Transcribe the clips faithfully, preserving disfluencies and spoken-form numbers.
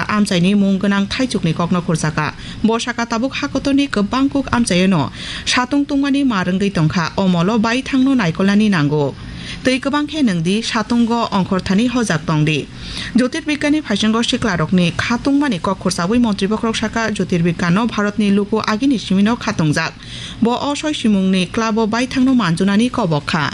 amchaini mung gwnang thaichukni kokno khurchakha. Bo sakha tabuk hakotorni kwbang kuk amchaino satung tungmani mar wngwi tongkha, o molo baithangno naikolnani nango. Tei kwbang khe nwngdi satungo ongkhorthani hojak tongdi. Jyotirbigyani phaisingo siklarokni khatungmani kok khursawi montri bokhorok sakha, Jyotirbigyano Bharatni luku agini simino khatungjak. Bo o soi simungni club-o baithangno manjunani kobok kha.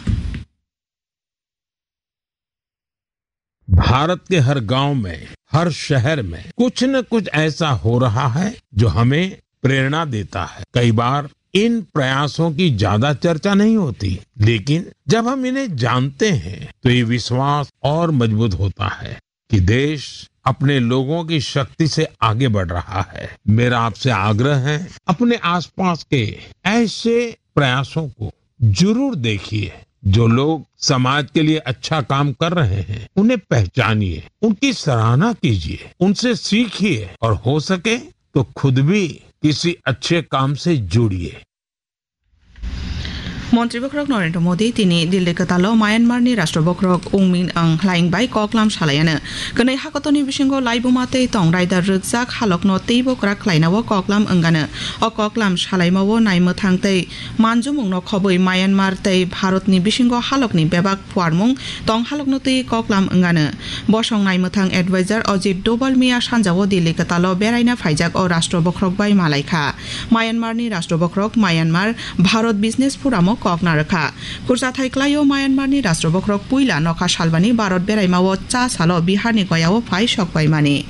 Bharat के हर गांव में, हर शहर में कुछ न कुछ ऐसा हो रहा है जो हमें प्रेरणा देता है। कई बार इन प्रयासों की ज्यादा चर्चा नहीं होती, लेकिन जब हम इन्हें जानते हैं तो ये विश्वास और मजबूत होता है कि देश अपने लोगों की शक्ति से आगे बढ़ रहा है। मेरा आपसे आग्रह है, अपने आसपास के ऐसे प्रयासों को जरूर देखिए। जो लोग समाज के लिए अच्छा काम कर रहे हैं, उन्हें पहचानिए, उनकी सराहना कीजिए, उनसे सीखिए और हो सके तो खुद भी किसी अच्छे काम से जुड़िए। Montri bokhorok Narendra Modi tini Delhi kwtalo Myanmar ni Rashtra bokhorok Win Myint Aung Hlaing bai koklam salaiano. Kwnwi hakotorni bisingo laibuma tei tong raida rwkjak halokno teibo kwrak khlainao koklam wngano. O koklam salaimao naimwthang tei manjumungno khobwi Myanmar tei Bharatni bisingo halokni bebak phuarmung tong halokno twi koklam wngano. Bosong naimwthang advisor Ajit Doval miya sanjao Delhi kwtalo beraina phaijak o Rashtra bokhorok bai malaikha. Myanmarni Rashtra bokhorok Myanmar Bharat Business Forum'o kok narwkha. Khurchathai klaio Myanmarni Rashtra bokhorok puila nokha salbani Bharat beraimao cha salo Biharni Goyao phai sokpaimani.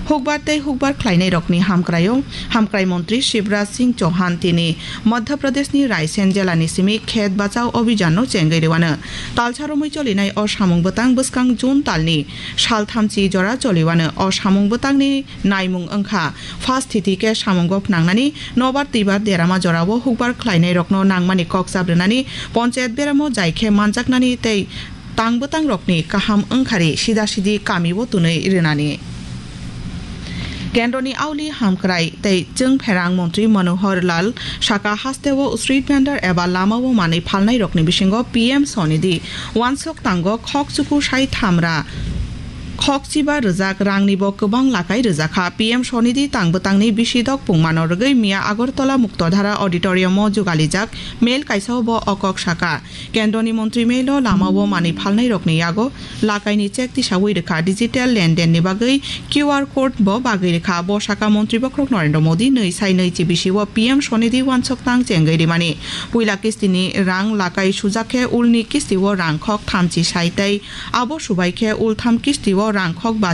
Hukbar tei hukbar khlainairokni hamkraio, hamkrai montri Shivraj Singh Chauhan tini Madhya Pradeshni Raisen jelani simi Khet Bachao Abhijanno chengwi rwano. Talsa romwi cholinai o samung bwtang bwskang June talni salthamchi jora choliwano. O samung bwtangni naimung wngkha, first thiti khe samungo phnangnani, nobar twibar derama jorao hukbar khlainairokno nangmani kok chabrwnani, ponchayat beramo jai khe manjaknani tei tang bwtangrokni kaham wngkhari sida sidi kamio twnwi rwnani. Kendroni auli hamkrai tei chwng pherang montri Manohar Lal saka hasteo street vendor eba lamao manwi phalnairokni bisingo P M Swanidhi wansok tango khok chuku sai thamra khokchiba rwjak rangni bo kwbang lakai rwjakha. P M Swanidhi tang bwtangni bisi dok pungmano rwgwi miya Agartala Muktodhara Auditorium-o jugalijak mail kaisao bo o kok saka. Kendroni montri mailo lamao manwi phalnairokni yago lakaini check tisawi rwkha, digital lendenni bagwi Q R code bo bagwi rwkha. Bo saka montri bokhorok Narendra Modi nwi sai nwi chi bisio P M Swanidhi wansok tang chengwi rimani. Puila kistini rang lakai sujak khe ulni kistio rang khok thamchi sai tei abo subai khe ultham kistio rang khok ba